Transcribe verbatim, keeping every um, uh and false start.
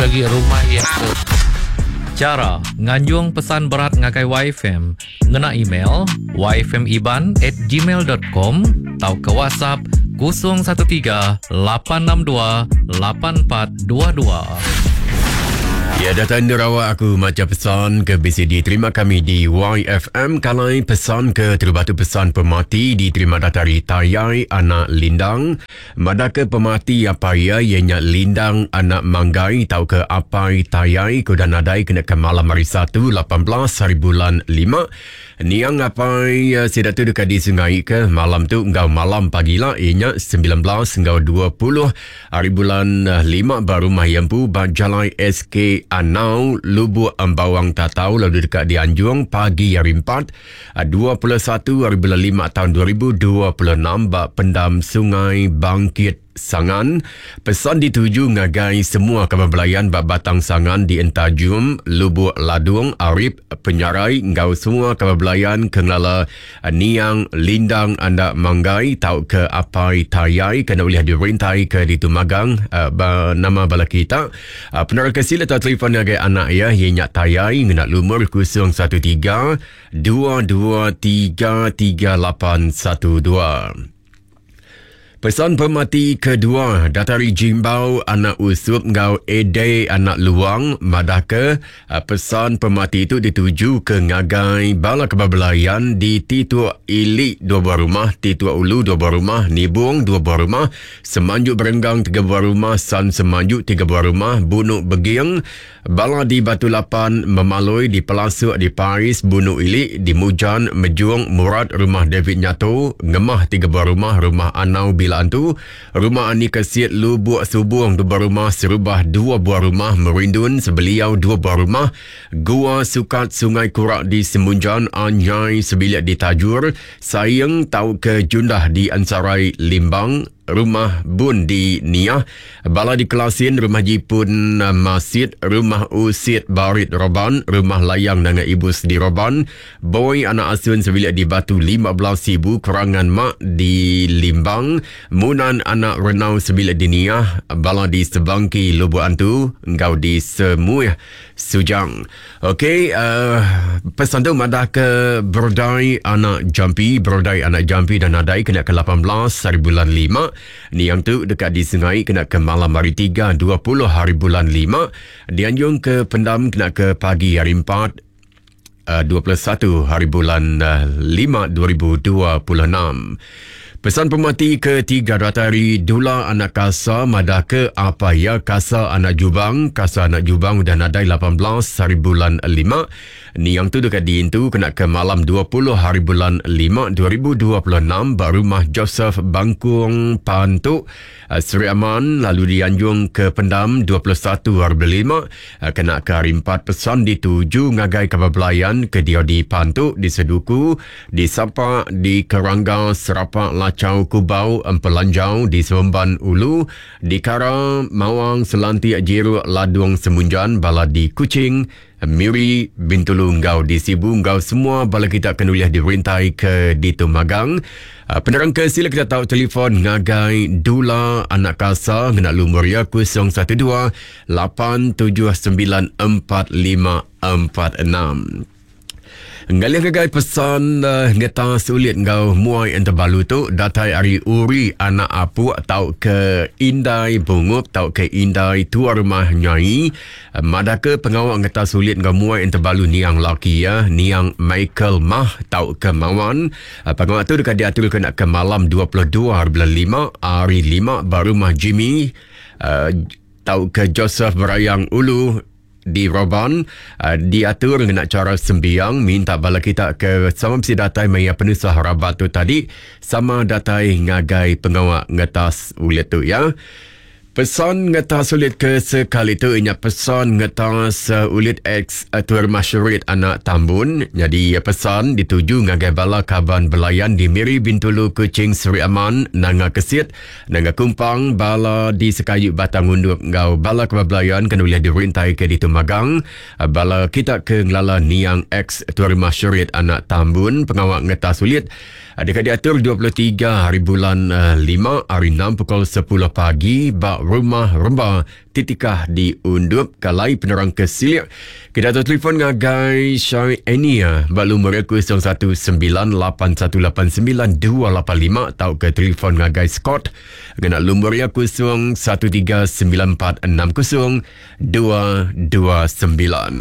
Lebih agi rumah iya ke Chara nganjung pesan berat ngagai Y F M ngena email y f m iban at gmail dot com tau ke WhatsApp kosong satu tiga lapan enam dua lapan empat dua dua. Ya, datang nerawak aku maca pesan ke B C D. Terima kami di Y F M. Kalai pesan ke terbatu pesan pemati diterima datari Tayai anak Lindang. Madaka pemati apa ia ianya Lindang anak Manggai tau ke apai Tayai kuda nadai kena ke malam hari Satu lapan belas hari bulan lima. Niang apai sida tu dekat di sungai ke malam tu ngau malam pagi lah ianya sembilan belas ngau dua puluh hari bulan lima baru rumah Yempu ba Jalai S K Anau Lubuk Embawang Tatau lalu dekat di Anjung pagi hari empat dua puluh satu hari bulan lima tahun dua ribu dua puluh enam ba Pendam Sungai Bangkit Sangan. Pesan dituju ngagai semua kaban belayan bak Batang Sangan di Entajum, Lubuk Ladung, Arif, Penyarai, ngau semua kaban belayan kengelala Niang Lindang Andak Manggai tau ke apai Tayai kena boleh dirintai ke ditumagang uh, ba, nama bala kita. Uh, penerang kesila atau telefon ngagai anak ya ianya Tayai ngena lumur kosong satu tiga dua dua tiga tiga lapan satu dua. Pesan pemati kedua datari Jimbau anak Usup ngau Ede anak Luang madaka pesan pemati itu dituju ke ngagai bala kebabelayan di Titua Ilik dua buah rumah, Titua Ulu dua buah rumah, Nibung dua buah rumah, Semanjuk Berenggang tiga buah rumah, San Semanjuk tiga buah rumah, Bunuk Begiang, bala di Batu Lapan, Memaloi, di Pelasuk, di Paris, Bunuk Ilik, di Mujan, Mejuang, Murad, rumah David Nyato, Ngemah tiga buah rumah, rumah Anau Bila Antu, rumah Ani Kesiet Lubuk Subung dua buah rumah, Serubah dua buah rumah, Merindun Sebeliau dua buah rumah, Gua Sukat Sungai Kurak di Semunjan, Anyai Sebilik di Tajur, Sayang Tau ke Jundah di Ansarai Limbang, Rumah Bun di Niah, Bala di Kelasin, Rumah Jipun Masjid, Rumah Usit Barit Roban, Rumah Layang Nanga Ibus di Roban, Boy Anak Asun Sebilik di Batu lima belas Sibu, Kerangan Mak di Limbang, Munan Anak Renau Sebilik di Niah, Bala di Sebangki Lubuk Antu, Engkau di Semuih Sujang. Okey, uh, pesan tu madah ke Berdai Anak Jampi, Berdai Anak Jampi dan Nadai kena ke lapan belas hari bulan lima. Niang tu dekat di sungai kena ke malam hari tiga dua puluh hari bulan lima. Dianjung ke pendam kena ke pagi hari empat dua puluh satu hari bulan lima dua ribu dua puluh enam. Pesan pemati ketiga datari Dula anak Kasa madah ke apa ya Kasa anak Jubang, Kasa anak Jubang udah nadai lapan belas hari bulan lima. Niang tu dekat diintu kena ke malam dua puluh hari bulan lima dua ribu dua puluh enam ba rumah Joseph Bangkung Pantuk Seri Aman lalu dianjung ke pendam dua puluh satu hari bulan lima kena ke hari empat. Pesan dituju ngagai kabar belayan ke dia di Pantuk, di Seduku, di Sapa, di Kerangga, Serapak, Lacau, Kubau, Empelanjau, di Semban Ulu, di Kara, Mawang, Selantik, Jeruk, Ladung, Semunjan, Bala di Kuching, Miri, Bintulu, Ngau di Sibu, Ngau semua bala kita akan uliah dirintai ke di Tumagang. Penerang ke sila kita tahu telefon ngagai Dula anak Kasa ngena lumur ya kosong satu dua lapan tujuh sembilan empat lima empat enam. Ngalih gagai pesan uh, ngeta sulit ngau muai enterbalu tu datai ari Uri anak Apuk tau ke Indai Bungup tau ke Indai tua rumah Nyai. Uh, madaka pengawak ngeta sulit ngau muai enterbalu niang laki ya niang Michael Mah tau ke Mawan. Uh, pengawak tu dekat diatur ke nak ke malam dua puluh dua hari bulan lima hari lima baru rumah Jimmy uh, tau ke Joseph Berayang Ulu di Roban. Uh, diatur dengan cara sembiang minta bala kita ke sama mesti datai maya penusah rabat tu tadi sama datai ngagai pengawak ngetas ulit tu ya. Pesan ngetas ulit ke sekali tu inya pesan ngetas uh, ulit ex uh, Tuan Masyurit anak Tambun. Jadi pesan dituju ngagai bala kaban belayan di Miri, Bintulu, Kuching, Seri Aman, Nanga Kesit, Nanga Kumpang, bala di Sekayu Batang Undup ngau bala kaban belayan kena boleh dirintai ke di Tumagang. Uh, bala kita ke ngelala niang ex Tuan Masyurit anak Tambun pengawak ngetas ulit Dekat diatur dua puluh tiga hari bulan uh, lima hari enam pukul sepuluh pagi ba Rumah Remba Titikah di Undup. Kalai penerang ke silik kita telefon ngagai Syai Enia ba lumur kosong satu sembilan lapan satu lapan sembilan dua lapan lima atau ke telefon ngagai Scott ngena lumur ya kosong satu tiga sembilan empat enam kosong dua dua sembilan.